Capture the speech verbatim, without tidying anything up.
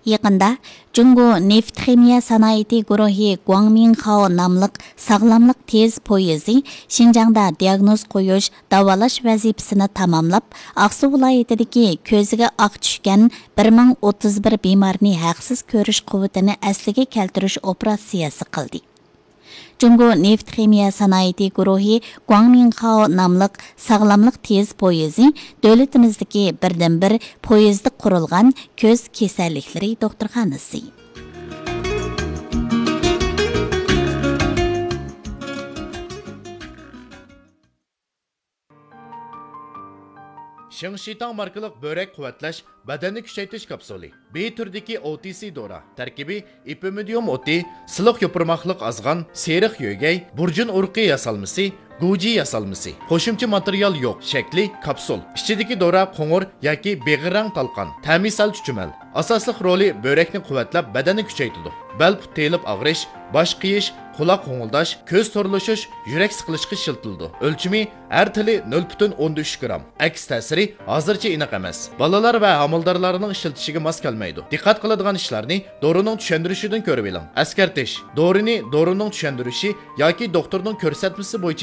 يېقىندا جۇڭگو نېفىت خىمىيە سانائىتى گۇرۇھى گۇاڭمىڭخاۋ ناملىق ساغلاملىق تېز پويىزى شىنجاڭدا دىياگنوز قويۇش، داۋالاش ۋەزىپىسىنى تاماملاپ، ئاقسۇ ۋىلايىتىدىكى كۆزىگە ئاق چۈشكەن بىر مىڭ ئوتتۇز بىر بىمارنى ھەقسىز كۆرۈش قۇۋۋىتىنى ئەسلىگە كەلتۈرۈش ئوپېراتسىيەسى قىلدى. جۇڭگو نېفىت خىمىيە سانائىتى گۇرۇھى گۇاڭمىڭخاۋ ناملىق ساغلاملىق تېز پويىزى دۆلىتىمىزدىكى بىردىنبىر پويىزدا قۇرۇلغان كۆز كېسەللىكلىرى دوختۇرخانىسى. شېڭشىتاڭ ماركىلىق بۆرەك قۇۋۋەتلەش، بەدەننى كۈچەيتىش كاپسۇلى. بى تۈرىدىكى ئو تى سى دورا. تەركىبى ئېپىمىدىيۇم ئوتى، سىلىق يوپۇرماقلىق ئازغان، سېرىق يۆگەي، بۇرجۇن ئۇرۇقى ياسالمىسى، گۇجى ياسالمىسى. قوشۇمچە ماتېرىيال يوق. شەكلى كاپسۇل. ئىچىدىكى دورا قوڭۇر ياكى بېغىر رەڭ تالقان. تەمى سەل چۈچۈمەل. ئاساسلىق رولى بۆرەكنى قۇۋۋەتلەپ، بەدەننى كۈچەيتىدۇ. بەل پۇت تېيىلىپ ئاغرىش، باش قېيىش، قۇلاق غوڭۇلداش، كۆز تورلىشىش، يۈرەك سىقىلىشقا ئىشلىتىلىدۇ. ئۆلچىمى ھەر تېلى نۆل پۈتۈن ئوندىن ئۈچ گرام. ئەكس تەسىرى ھازىرچە ئېنىق ئەمەس. بالىلار ۋە ھامىلىدارلارنىڭ ئىشلىتىشىگە ماس كەلمەيدۇ. دىققەت قىلىدىغان ئىشلارنى دورىنىڭ چۈشەندۈرۈشىدىن كۆرۈۋېلىڭ. ئەسكەرتىش: دورىنى دورىنىڭ چۈشەندۈرۈشى ياكى دوختۇرنىڭ كۆرسەتمىسى بويىچە